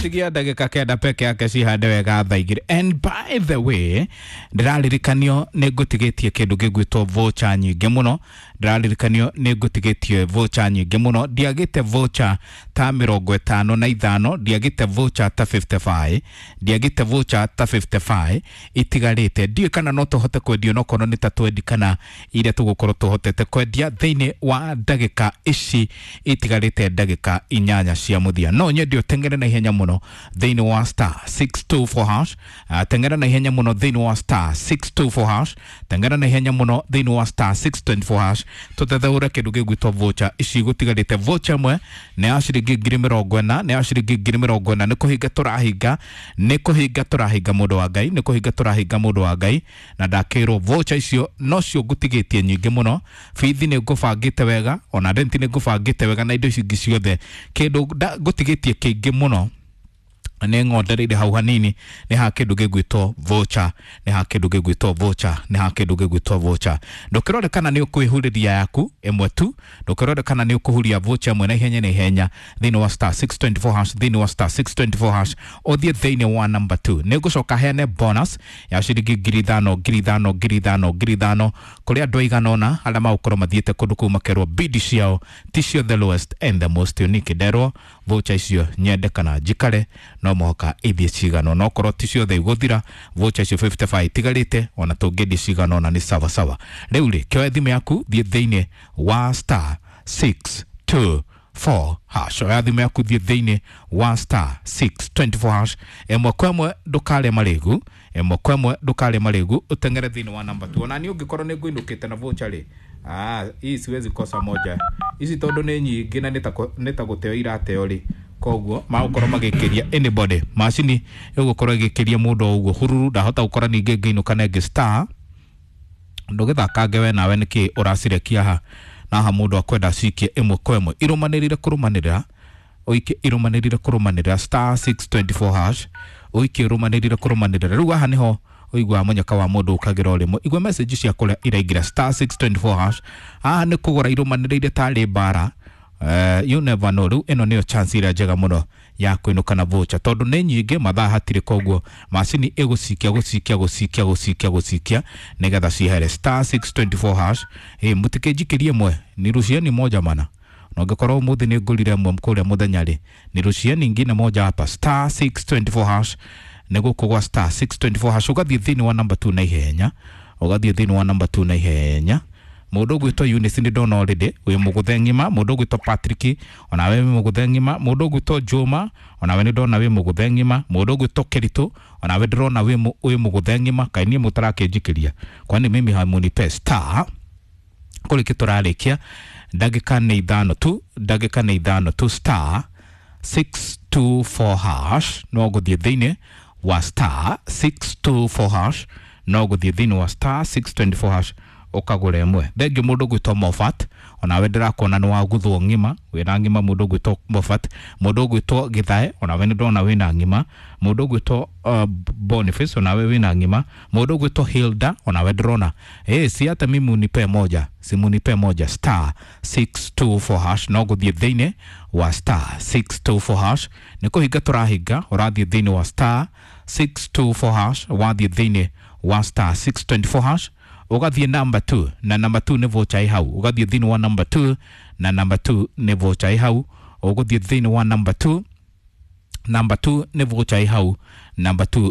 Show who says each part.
Speaker 1: Gwatigia ndagĩka 9 peke yake cihande wega thaa 2. And by the way, ndĩraririkanio nĩ ngũtigĩtie kĩndũ gĩgwĩtwo voucher nyingĩ mũno. Ndĩraririkanio nĩ ngũtigĩtie voucher nyingĩ mũno. Ndiagĩte voucher ta 55, ndiagĩte voucher ta 55, ndiagĩte voucher ta 55 itigarĩte. Ndiũĩ kana no tũhote kwendia onokorwo nĩ ta 20 kana iria tũgũkorwo tũhotete kwendia thĩinĩ wa ndagĩka ici itigarĩte, ndagĩka 8 cia mũthia. No nyende ũteng'ere na ihenya mũno thĩinĩ wa star 624 hash. Teng'era na ihenya mũno thĩinĩ wa star 624 hash. Teng'era na ihenya mũno thĩinĩ wa star 624 hash, tũtetheũre kĩndũ gĩgwĩtwo voucher ici gũtigarĩte. Voucher ĩmwe nĩ ya ciringi 40,000, nĩ ya ciringi 40,000. Nĩ kũhinga tũrahinga, nĩ kũhinga tũrahinga, mũndũ wa Ngai, nĩ kũhinga tũrahinga, mũndũ wa Ngai. Na ndakĩrwo voucher icio nocio ngũtigĩtie nyingĩ mũno. Bithi nĩ ngũbangĩte wega, ona renti nĩ ngũbangĩte wega, na indo ici ingĩ ciothe. Kĩndũ ngũtigĩtie kĩingĩ mũno nĩ ng'ondereire hau hanini nĩ ha kĩndũ gĩgwĩtwo voucher, nĩ ha kĩndũ gĩgwĩtwo voucher, nĩ ha kĩndũ gĩgwĩtwo voucher. Ndũkĩrore kana nĩ ũkwĩhurĩria yaku ĩmwe tu, ndũkĩrore kana nĩ ũkũhuria voucher ĩmwe na ihenya na ihenya thĩinĩ wa star 624 hash, thĩinĩ wa star 624 hash, ũthiĩ thĩinĩ wa number 2. Nĩ ngũcoka heane bonus ya ciringi 5,000, 5,000, 5,000, 5,000 kũrĩ andũ aigana ũna arĩa magũkorwo mathiĩte kũndũ kũu makerwo bidi ciao ticio the lowest and the most unique. Nderwo voucher icio nyende kana njikare no mũhaka ithiĩ cigana, no korwo ti ciothe igũthira. Voucher icio 55 itigarĩte, ona tũngĩendia cigana ona nĩ sawa sawa. Rĩu rĩ, kĩoe thimũ yaku, thiĩ thĩinĩ wa star 624 hash. Oya thimũ yaku, thiĩ thĩinĩ wa star 624 hash, ĩmwe kwa ĩmwe, ndũkarĩe marĩgu, ĩmwe kwa ĩmwe, ndũkarĩe marĩgu, ũteng'ere thĩinĩ wa namba 2. Ona niĩ ũngĩkorwo nĩ ngũinũkĩte na voucher rĩ, ah, hii siwezi kosa moja ici tondũ nĩ nyingĩ na nĩ ta gũteo irateo rĩ. Koguo magũkorwo magĩkĩria anybody, macini ĩgũkorwo ĩgĩkĩria mũndũ o ũguo hururu. Ndahota gũkora ningĩ ngĩinũka na ĩngĩ star. Ndũgĩthakange we nawe, nĩkĩ ũracirekia ha na ha? Mũndũ akwenda cikie ĩmwe kwa ĩmwe, irũmanĩrĩire kũrũmanĩrĩra, ũikie irũmanĩrĩire kũrũmanĩrĩra, star 624 hash, ũikie irũmanĩrĩire kũrũmanĩrĩra. Rĩu haha nĩho ũiguaga mũnyaka wa mũndũ ũkagĩra ũrĩmwe. Igua message cia kũrĩa iraingĩra star 624 hash. Haha nĩ kũgũra irũmanĩrĩire tarĩ mbara. You never know. Rĩu ĩno nĩyo chance ĩrĩa njega mũno ya kũinũka na voucher tondũ nĩ nyingĩ, mathaa hatirĩ. Koguo macini ĩgũcikia, gũcikia, gũcikia, gũcikia, gũcikia nĩgetha cihere. Star 624 hash. Ĩ mũtikĩnjikĩrie ĩmwe, nirucieni moja mana, na ũngĩkorwo ũmũthĩ nĩ ngũrire ĩmwe kũrĩa mũthenya rĩ, nirucieni ingine moja hapa. Star 624 hash, nĩ gũkũ gwa star 624 hash, ũgathiĩ thĩinĩ wa number 2 na ihenya, ũgathiĩ thĩinĩ wa number 2 na ihenya. Mũndũ ũgwĩtwo Eunice nĩ ndona already wĩ mũgũthe ng'ima. Mũndũ ũgwĩtwo Patrick, onawe wĩ mũgũthe ng'ima. Mũndũ ũgwĩtwo Juma, onawe nĩ ndona wĩ mũgũthe ng'ima. Mũndũ ũgwĩtwo Keritu, onawe ndĩrona wĩ mũgũthe ng'ima. Kaĩ niĩ mũtarakĩnjikĩria? Kwani mimi hamunipe? Star kũrĩkĩ tũrarĩkia, ndagĩka nĩ 5 tu, ndagĩka nĩ 5 tu. Star 624 hash, no gũthiĩ thĩinĩ wa star 624 hash, no gũthiĩ thĩinĩ wa star 624 hash ũkagũra ĩmwe. Thengiũ mũndũ ũgwĩtwo Mofat, onawe ndĩrakuona nĩ waguthwo ng'ima, wĩna ng'ima. Mũndũ ũgwĩtwo Mofat, mũndũ ũgwĩtwo Gĩthae, onawe nĩ ndona wĩna ng'ima. Mũndũ ũgwĩtwo Boniface, onawe wĩna ng'ima. Mũndũ ũgwĩtwo Hilda, onawe ndĩrona. Ĩ si hata mimi unipe moja, si munipe moja. Star 624 hash, no gũthiĩ thĩinĩ wa star 624 hash. Nĩ kũhinga tũrahinga, ũrathiĩ thĩinĩ wa star 624 hash. Wathiĩ thĩinĩ wa star 624 hash, ũgathiĩ number 2, na number 2 nĩ voucher ĩ hau. Ũgathiĩ thĩinĩ wa number 2, na number 2 nĩ voucher ĩ hau. Ũgũthiĩ thĩinĩ wa number 2, number 2 nĩ voucher ĩ hau, number 2.